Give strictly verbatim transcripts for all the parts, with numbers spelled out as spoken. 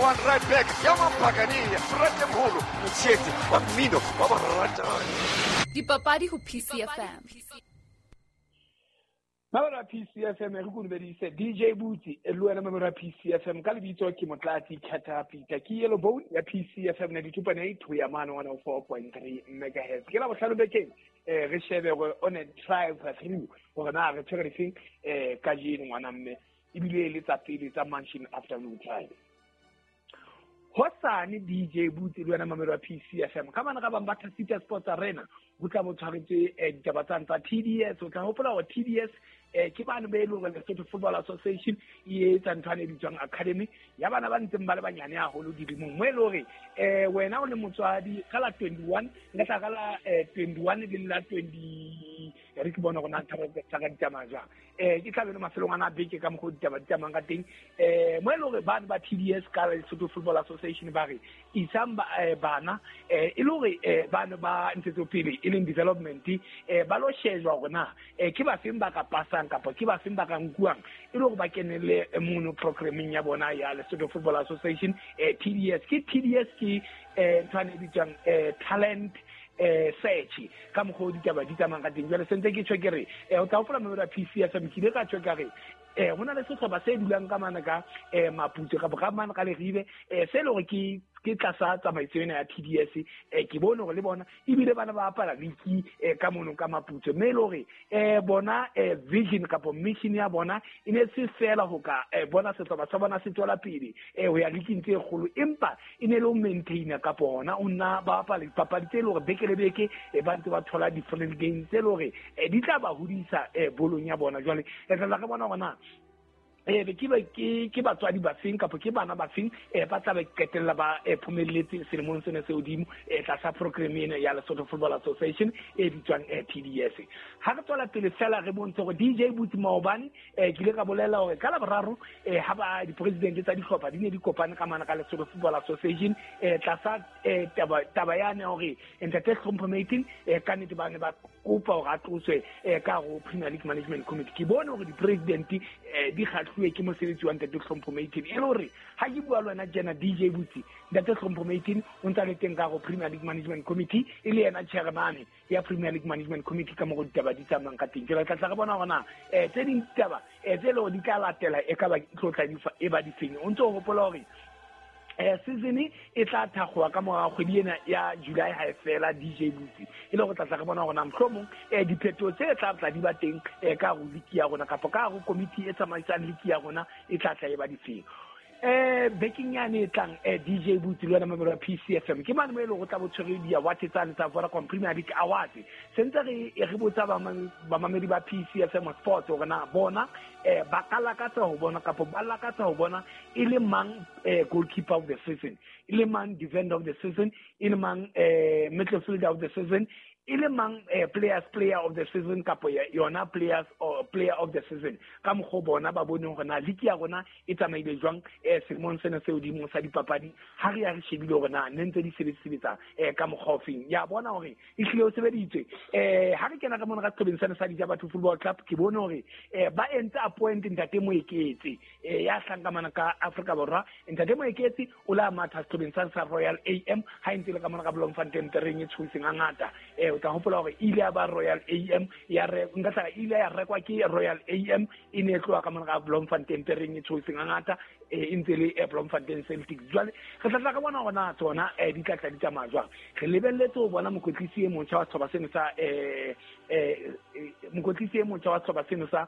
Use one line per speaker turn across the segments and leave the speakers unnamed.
one right back ya Mapakania Fratemholo Mtshetsi wa mmino wa boratani.
Dipapadi ho P C F M.
Mamelo P C F M re kunubedise D J Booty le wena mamelo P C F M ka lebitso ke Motlatsi Khatapita ke Yellow Bone ya P C F M ninety-two point eight ho ya mane one oh four point three megahertz. Ke la bohlano bekeng eh re shebe gore on a drive through gore na re tshwere difeng eh kajeno ngwana mme ebile le tsa pele tsa Mansion Afternoon Drive. Hosane D J Booty le wena mamelo P C F M ka bana ka bang ba City Sports Arena ho tla bo tshwaretswe ditaba tsa tsa T D S. O tla hopola hore T D S eh ke bana ba e leng hore Lesotho Football Association e etsa ntho e bitswang academy ya bana ba ntseng ba le banyane haholo dilemong mo e leng hore eh wena o le motswadi ka la twenty-one le tla ka la twenty-one le la twenty re ke bona hore na thaba tsa ka ditsamaya jwang eh ke tla be le mafelong ana beke ka mokgwa ditaba di tsamayang ka teng eh mo e leng hore bana ba T D S ka Lesotho Football Association ba re isang bana eh e le hore bana ba ntshetsopele e leng development eh ba lo shejwa hore na eh ke ba feng ba ka pasang kapa ke ba feng ba ka nkuang e le hore ba kenelle mono programming ya bona ya Lesotho Football Association eh T D S ke T D S ke eh ntho e bitswang eh talent eh search ka mokgwa ditaba di tsamayang ka teng. Jwale sentse ke tjho ke re eh o tla hopola mamelo ya P C F M ke ile ka tjho ka re eh hona le sehlopha se dulang ka mana ka eh Maputso kapa ka mana ka Leribe eh se le hore ke ke tlasa tsamaiso ena ya T D S eh ke bone hore le bona ebile bana ba apara liki eh ka mono ka Maputso mme le hore eh bona eh vision kapa mission ya bona e ne se fela ho ka eh bona sehlopha sa bona se tswela pele eh ho ya liking tse kgolo empa e ne le ho maintainer kapa hona o nna ba apara dipapadi tse le hore beke le beke e ba ntse ba thola different games tse le hore di tla ba hodisa eh bolong ya bona. Jwale re tla re bona hore na eh be ke ba ke ke batswadi ba feng kapa ke bana ba feng eh ba tla ba qetella ba eh phomelletse selemong sena se hodimo eh tlasa program ena ya Lesotho Football Association e bitswang eh T D S. Ha re tswela pele fela re bontshe hore D J Booty maobane eh ke ile ka bolela hore ka Laboraro eh ha ba di-president tsa dihlopha di ne di kopane ka mana ka Lesotho Football Association eh tlasa eh taba taba yane hore Ntate Hlompho Mating eh ka nnete ba ne ba kopa hore a tloswe eh ka ho Premier League Management Committee. Ke bone hore di-president eh di kgahlwe ke mosebetsi wa Ntate Hlompho Mating e le hore ha ke bua le wena tjena D J Booty Ntate Hlompho Mating o ntse a le teng ka ho Premier League Management Committee e le yena chairman ya Premier League Management Committee ka mo ditaba di tsamayang ka teng. Jwale tla tla re bona hore na eh tse ding ditaba eh tse le hore di tla latela e ka ba tlotla di e ba difeng. O ntse o hopola hore eh season e tla thakgowa ka mora kgwedi ena ya July ha e fela D J Booty e le go tla tla re bona hore mohlomong eh diphetoho tse tla tla di ba teng eh ka ho league ya rona kapa ka ho committee e tsamaisang league ya rona e tla tla e ba difeng. Eh bekeng yane e tlang eh D J Booty le wena mamelo ya P C F M ke mane mo e leng go tla bo tshwere di-award tsane tsa Vodacom Premier League Awards. Sentse re re botsa bamamedi ba P C F M Sports hore na bona eh ba ka lakatsa ho bona kapa ba lakatsa ho bona e le mang eh goalkeeper of the season, e le mang defender of the season, e le mang eh midfielder of the season, e le mang eh, players player of the season kapa yona players or player of the season ka mokgwa bona ba boneng hore na league ya rona e tsamaile jwang eh selemong sena se hodimo sa dipapadi ha re ya re shebile hore na ne ntse di sebetsa eh ka mokgwa ofeng ya bona hore e hlile o sebeditswe eh ha re kena ka mona ka seqhobeng sena sa Dijabatho Football Club ke bone hore eh ba entse appoint Ntate Moeketse eh ya hlankamana ka Afrika Borwa. Ntate Moeketse o la matha seqhobeng sa sa Royal A M ha ntse le ka mona ka Bloemfontein tereng e tshoseng hangata eh o tla hopola hore ile ya ba Royal A M ya re nka tla ile ya rekwa ke Royal A M e ne tloha ka mona ka Bloemfontein tereng e tshoseng hangata e ntse le Bloemfontein Celtic. Jwale re tla tla ka bona hore na tsona eh di tla tla di tsamaya jwang. Re lebelletse ho bona mokwetlisi e motjha wa sehlopha seno sa eh eh mokwetlisi e motjha wa sehlopha seno sa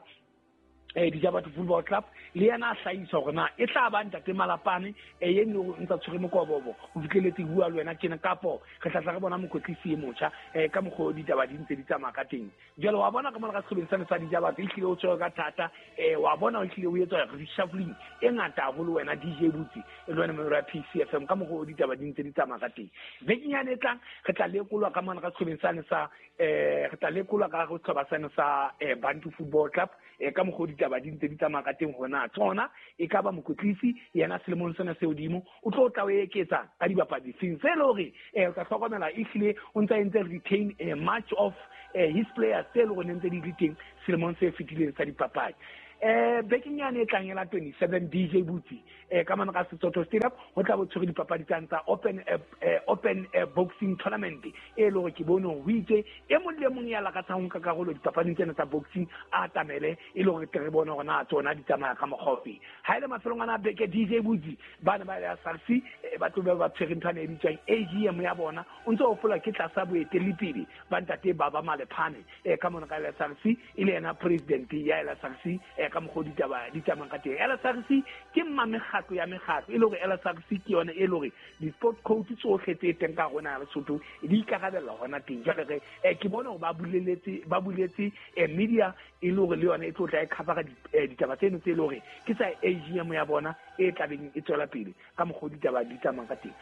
eh Dijabatho Football Club le yena a hlahisa hore na e tla ba Ntate Malapane eh eno o ntsa tshwere mokobobo o fihleletse bua le wena tjena kapo re tla tla re bona mokwetlisi e motjha eh ka mokgwa ditaba di ntse di tsamaya ka teng. Jwale wa bona ka mona ka sehlobeng sena sa Dijabatho e hlile o tshwere ka thata eh wa bona o hlile o etswa reshuffling e ngata haholo wena D J Booty e le wena member ya P C F M ka mokgwa ditaba di ntse di tsamaya ka teng. Bekeng yane e tlang re tla lekolwa ka mona ka sehlobeng sane sa eh re tla lekolwa ka go sehlopha sane sa eh Bantu Football Club eh ka mokgwa ditaba di ntse di tsamaya ka teng hona tsona e ka ba mokwetlisi yena selemong sena se hodimo o tlo tla o eketsa ka dibapadi seng se le hore eh o tla hlokomela ehlile o ntsa entse retain eh, much of eh, his players tse le hore ntse di le teng selemong se fetileng sa dipapadi. Eh bekeng yane e tlang ela twenty-seven D J Butsi eh ka mane ka Sesotho Stadium ho tla bo tshwere dipapadi tsa tsa open eh, open eh, boxing tournament e le hore ke bone ho itse e mong le mong ya lakatsang ho nka karolo dipapading tsena tsa boxing a atamele e le hore re bone hore na tsona di tsamaya ka mokgwa ofe. Ha ile mafelong ana beke D J Butsi bana ba ya S R C ba tlo ba tshwere ntho e bitswang A G M ya bona o ntse o fola ke tlasa boeteledipele ba ntate Baba Malephane eh ka mona ka S R C e le yena president ya S R C eh ka mokgwa ditaba di tsamayang ka teng. S R C ke mma mekgatlo ya mekgatlo e le hore S R C ke yona e le hore di-sport coach tsohle tse teng ka rona ya Lesotho di ikarabella hona teng. Jwale re eh, ke bone hore ba buleletse ba buletse eh, media e le hore le yona e tlo tla e cover ditaba tseno tse le hore ke tsa A G M ya bona e tlabeng e tswela pele ka mokgwa ditaba di tsamayang ka teng.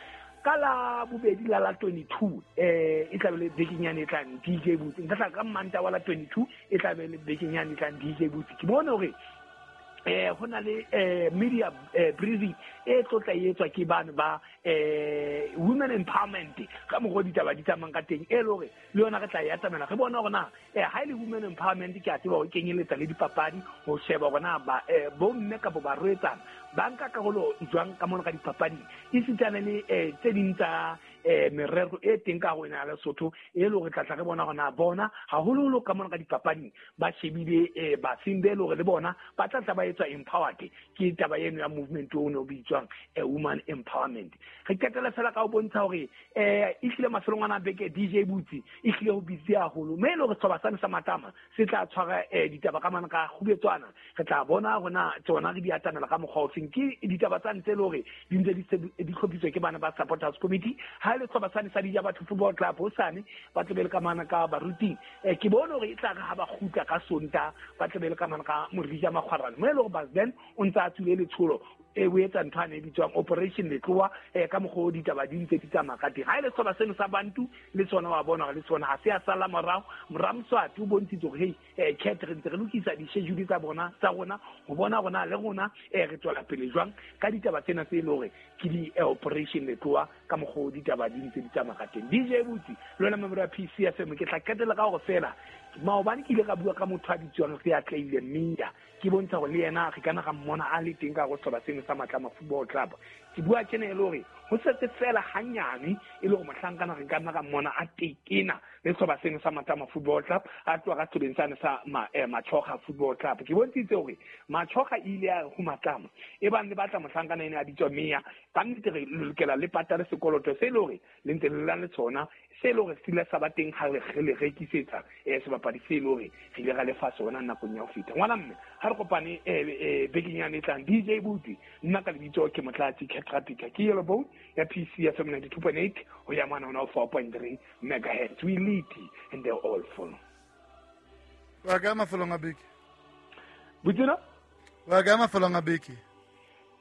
Ka la bobedi la la twenty-two eh e tla be le bekeng yane e tlang D J Butsi nka tla ka Manta wa la twenty-two e tla be le bekeng yane e tlang D J Butsi ke bone hore eh ho na le eh media eh, briefing e tlo tla etswa ke bana ba eh women empowerment ka mokgwa ditaba di tsamayang ka teng e le hore le yona re tla e atamela re bona hore na eh ha ile women empowerment ke a tseba ho kenyeletsa le dipapadi ho sheba hore na ba eh, bomme kapa barwetsana ba nka karolo jwang ka mona ka dipapading esitana le eh, tse ding tsa eh merero e teng ka ho ena Lesotho e le hore tla tla re bona hore na bona haholoholo ka mona ka dipapading ba shebile eh ba simbe le hore le bona ba tla tla ba etswa empowered ke taba eno ya movement o no bitswang eh, woman empowerment. Re qetela fela ka ho bontsha hore eh e hlile mafelong ana beke D J Butsi e hlile ho busy haholo mme le hore setjhaba sane sa Matlama se tla tshwara eh, ditaba ka mona ka kgubetswana re tla bona hore tsona re di atamela ka mokgwa o feng ke ditaba tsa ntse le hore di ntse di hlophiswa ke bana ba supporters committee ha le setjhaba sane sa Dija Batho Football Club hosane ba tlo be le ka mana ka baruting eh, ke bone hore e tla re ha ba kgutla ka Sonta ba tlo be le ka mana ka Morija Makgwarane mo e le hore Basden o ntse a tswile letsholo e o etsa ntho ane e bitswang operation letloa eh, ka mokgwa o ditaba di ntse di tsamaya ka teng. Ha ile setjhaba seno sa Bantu le tsona wa bona hore le tsona ha se a sala morao Moramswati o bontshitse hore hey eh, cat re ntse re lokisa di-schedule tsa bona tsa rona ho bona rona le rona eh, re tswela pele jwang ka ditaba tsena tse e le hore ke di-operation letloa ka mokgwa o ditaba di ntse di tsamaya ka teng. D J Butsi le wena member ya P C F M ke tla qetela ka hore fela maobane ke ile ka bua ka motho a bitswang re Atleile Meya ke bontsha hore le yena re kana ga mmona a le teng ka go setjhaba seno sa Matlama Football Club ke bua tjena e le hore ho setse fela hanyane e le hore mohlankana re ka nna ka mmona a tekena le setjhaba seno sa Matlama Football Club a tloha ka setjhabeng sane sa ma, eh, Machoga Football Club ke bontshitse hore Machoga e ile ya ho Matlama e bang le batla mohlankana ene a bitswa Meya ka nnete re lokela le patale sekoloto se le hore le ntse le la le tsona se le hore se ile sa ba teng ha re le rekisetsa eh sebapadi se le hore re ile ra lefa sona nakong ya ho feta. Ngwana mme ha re kopane eh bekeng yane e tlang D J Butsi nna ka lebitso ke Motlatsi Catrapika ke Yellow Bone ya P C F M ninety-two point eight ho ya mona hona four point three megahertz. We lead and they all follow.
Wa ka mafelong a beke
Butsina
wa ka mafelong a beke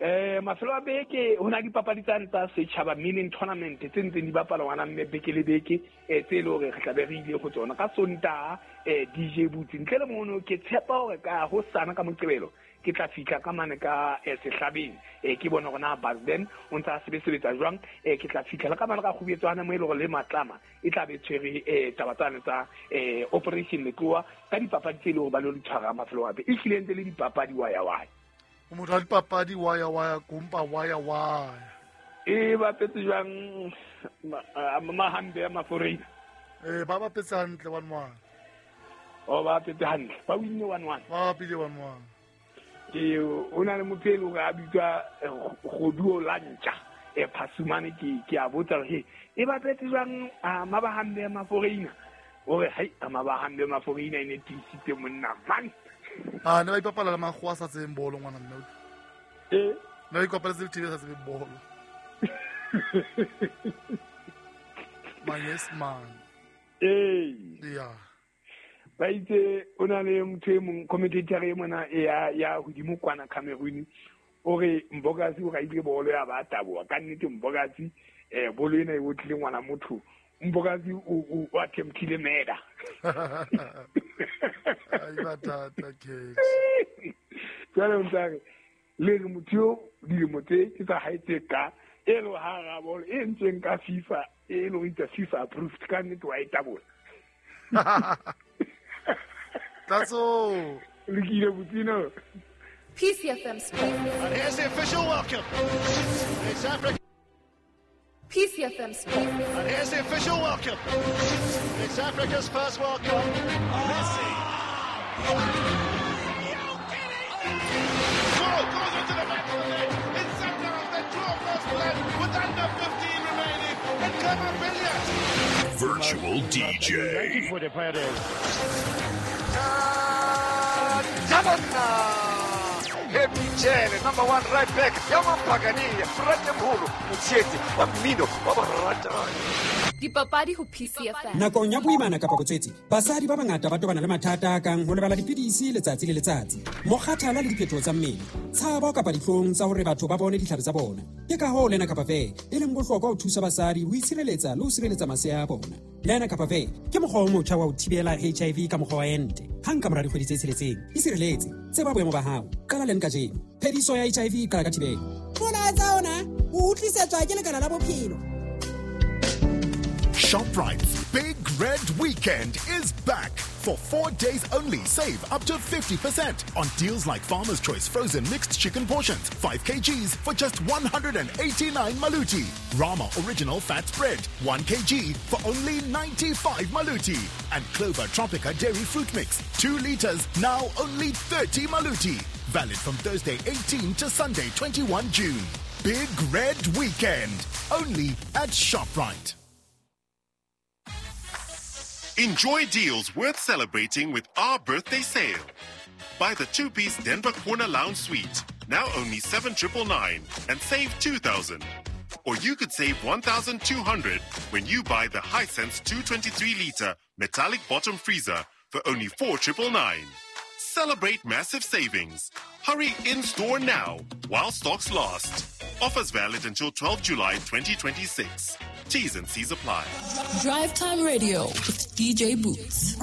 eh mafelo a beke ho na dipapadi tsa tsa setjhaba milling tournament tse ntseng di bapala ngwana mme beke le beke eh tse le hore re tla be re ile go tsona ka Sontaha eh D J Butsi ntle le mono ke tshepa hore ka ho sana ka Moqebelo ke tla fihla ka mane ka eh, sehlabeng eh ke bona hore na Basden o ntse a sebetsa jwang eh ke tla fihla ka mane ka kgubetswana mo e le hore le Matlama e tla be tshwere eh taba tsane tsa eh operation letloa ka dipapadi tse le hore ba lo di tshwara mafelo a be e hlile ntse le dipapadi wa ya wa
o motho wa dipapadi wa ya wa ya kumpa wa ya wa
e bapetse jwang mahambe ya maforeina
eh ba bapetse hantle one one
o ba bapetse hantle ba winne one one
ba bapile one one
ke o na le motho e leng hore a bitswa Kgoduo Lantja e Phasumane ke ke a botsa hore e bapetse jwang mabahambe ya maforeina hore hai mabahambe maforeina e ne tiisitse monna man
ah ne ba ipapala le makgowa a sa tsebeng bolo ngwana mme
eh
ne ba ikopaletse le T V a sa tsebeng bolo my yes man
eh
yeah
ba itse o na le motho e mong commentator e mona ya ya hodimo kwana Cameroon o re Mbokazi o raile bolo ya ba taboa ka nnete Mbokazi eh bolo ena e botlile ngwana motho Mbokazi o o attemptile murder
ai batata ke
jwale o ntse le re motho yo dilemo tse ke tsa hae tse ka e lo ha ra bolo e ntseng ka FIFA e lo itse FIFA approved ka nnete wa e tabola
Tatso
Lokile Botsino.
P C F M Sports.
And here's the official welcome. It's Africa.
P C F M Sports.
And here's the official welcome. It's Africa's first World Cup. Messi. Goal goes into the back of the net. It's Sundowns that draw first blood with under fifteen remaining. And Khama Billiat.
Virtual D J.
Number one right back, Yaman Pagani, Ratemholo, Motsietsi, wa mmino wa barata.
Dipapadi ho P C F M.
Nakong ya boimana kapa botswetse, basadi ba bangata ba tobana le mathata a kang ho lebala dipidisi letsatsi le letsatsi, mokgathala le diphetoho tsa mmele, tshabo kapa dihlong tsa hore batho ba bone ditlhare tsa bona. Ke ka hoo lena kapa ve e leng bohlokwa ho thusa basadi ho itshireletsa le ho sireletsa masea a bona. Lena kapa ve ke mokgwa o motjha wa ho thibela H I V ka mokgwa wa ente. Hang ka mora dikgwedi tse tsheletseng, isireletse, tseba boemo ba hao, qala leng kajeno. Phediso ya H I V e qala ka thibelo.
Molaetsa ona o utlisetswa ke Lekala la Bophelo.
ShopRite's Big Red Weekend is back. For four days only, save up to fifty percent on deals like Farmer's Choice frozen mixed chicken portions, five kilograms for just one hundred eighty-nine maluti. Rama Original Fat Spread, one kilogram for only ninety-five maluti. And Clover Tropica Dairy Fruit Mix, two liters, now only thirty maluti. Valid from Thursday eighteenth to Sunday twenty-first June. Big Red Weekend, only at ShopRite.
Enjoy deals worth celebrating with our birthday sale. Buy the two-piece Denver Corner Lounge Suite, now only seven triple nine, and save two thousand. Or you could save one thousand two hundred when you buy the Hisense two twenty-three liter metallic bottom freezer for only four triple nine. Celebrate massive savings. Hurry in-store now while stocks last. Offers valid until twelfth July twenty twenty-six. T's and C's apply.
Drive Time Radio with D J Boots.